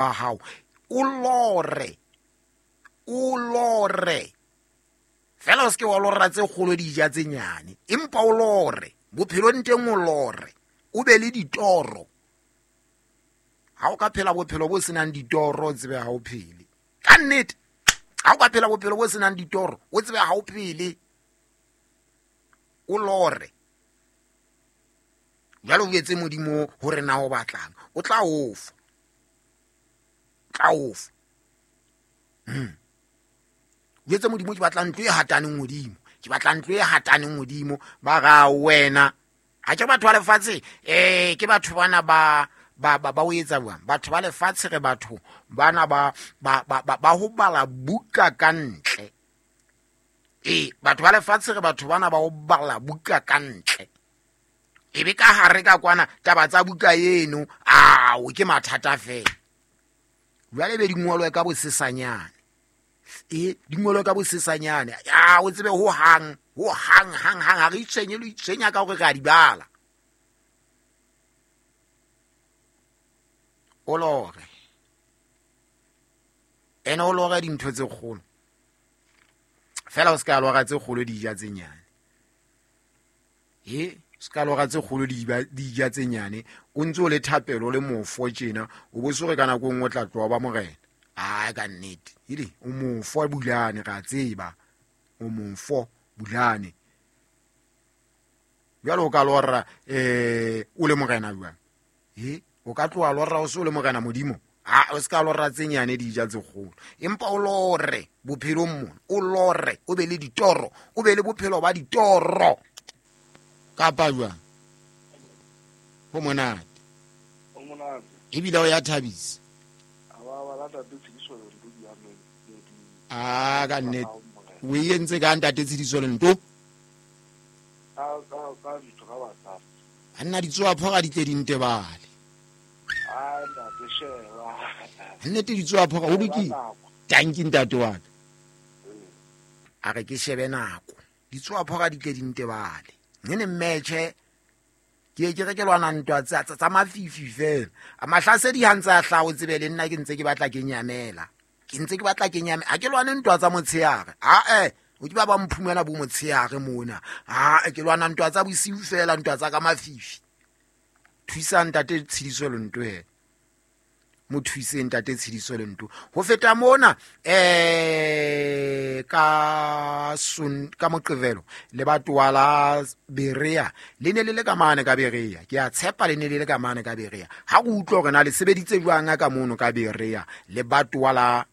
Hao o lore, o lore fela, o seke wa lora tse kgolo di ja tse nyane, empa o lore bophelong teng, o lore o be le ditoro. Ha o ka phela bophelo bo senang ditoro, o tsebe ha o phele ka nnete. Ha o ka phela bophelo bo senang ditoro, o tsebe ha o phele. O lore jwale, o etse Modimo hore na o batlang, o tla ofa, tla ofa. O etse Modimo, ke batla ntlo e hataneng hodimo, ke batla ntlo e hataneng hodimo. Ba ra wena ha ke batho ba lefatshe, ke batho bana ba ba ba ba o etsa jwang? Batho ba lefatshe, re batho bana ba ba ba ba ho bala buka ka ntle. Batho ba lefatshe, re batho bana ba ho bala buka ka ntle, e be ka hare ka kwana taba tsa buka eno ao ke mathata fela. Jwale be di ngolwe ka bosesanyane, di ngolwe ka bosesanyane, a o tsebe ho hang, ho hang hang hang ha re itshwenye le itshwenya ka hore re a di bala. O lore ene, o lore dintho tse kgolo fela, o se ka lora tse kgolo di ja tse nyane. Se ka lora tse kgolo di ja tse nyane, o ntse o le thapelo le mofo tjena, o bo sore ka nako e nngwe o tla tloha ba morena. Ai, ka nnete ele o mofo bulane, ra tseba o mofo bulane. Jwale o ka lora o le morena jwang? O ka tloha lora o se o le morena Modimo? A o se ka lora tse nyane di ja tse kgolo, empa o lore bophelong mona, o lore o be le ditoro, o be le bophelo ba ditoro kapa jwang? Ho monate ebile o ya thabisa. A ka nnete o e entse ka ntate Tshidiso Lento, a nna ditsoa phoga di tle di ntebale. Nnete ditsoa phoga o lokile. Tanki ntate wa ka, a re ke shebe nako, ditsoa phoga di tle di ntebale. Nene mmetšhe ke ke re ke lwana ntwa tsa mafifi fela, a mahlasedi ha ntse a hlaha, o tsebe le nna ke ntse ke batla ke nyamela, ke ntse ke batla ke nyamela. Ha ke lwane ntwa tsa motshehare, ae o ke ba ba mphumela bo motshehare mona. A ke lwana ntwa tsa bosiu fela, ntwa tsa ka mafifi. Thusa ntate Tshidiso Lento, he mo thuse ntate Tshidiso Lento. Ho feta mona, ka son ka Moqebelo lebatowa la Berea le ne le le ka mane ka Berea. Ke a tshepa le ne le le ka mane ka Berea. Ha re utlwa hore na le sebeditse jwang ka mono ka Berea, lebatowa la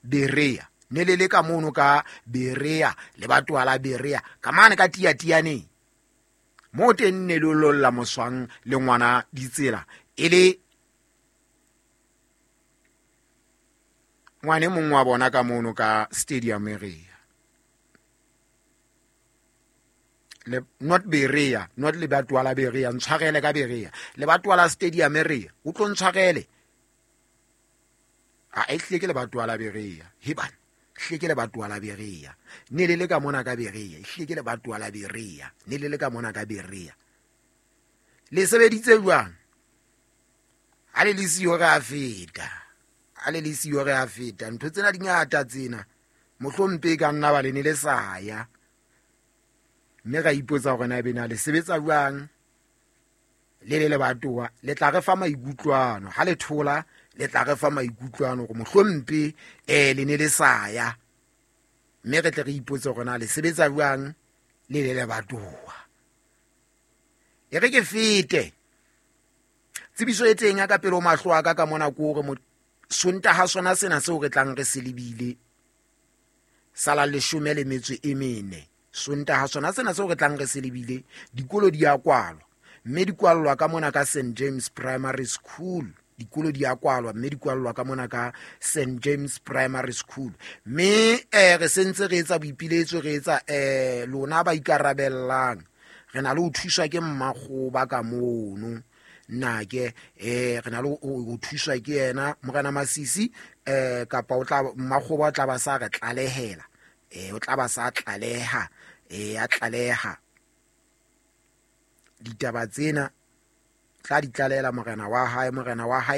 Berea ne le le ka mono ka Berea, lebatowa la Berea ka mane ka Tiatianeng mo teng, ne le lolla moswang le ngwana ditsela, e le ngwane mongwe wa bona ka mono ka stadium area. Le not Berea, not lebatowa la Berea, ntshwarele ka Berea, lebatowa la stadium area, o tlo ntshwarele. A e hlile ke lebatowa la Berea, hebana hlile ke lebatowa la Berea, ne le le ka mona ka Berea, e hlile ke lebatowa la Berea, ne le le ka mona ka Berea. Le sebeditse jwang ha le le siyo? Re a feta ha le le siyo, re a feta. Ntho tsena di ngata tsena, mohlompe e ka nna ba le ne le sa ya, mme ra ipotsa hore na ebe na le sebetsa jwang le le lebatowa. Le tla re fa maikutlwano ha le thola, le tla re fa maikutlwano hore mohlompe le ne le sa ya, mme re tle re ipotse hore na le sebetsa jwang le le lebatowa. E re ke fete tsebiso e teng ya ka pele ho mahlo a ka ka mona, ke hore Sontaha sona sena seo re tlang re se lebile sala 14, Sontaha sona sena seo re tlang re se lebile, dikolo di a kwalwa, mme di kwallwa ka mona ka St James Primary School. Dikolo di a kwalwa, mme di kwallwa ka mona ka St James Primary School. Mme re sentse re etsa boipiletso, re etsa lona ba ikarabellang, re na le ho thuswa ke mmakgoba ka mono nake, re na le ho thuswa ke yena Morena Masisi, kapa o tla mmakgoba o tla ba sa re tlalehela, o tla ba sa tlaleha, a tlaleha ditaba tsena. Tla di tlalehela morena wa hae. Morena wa hae.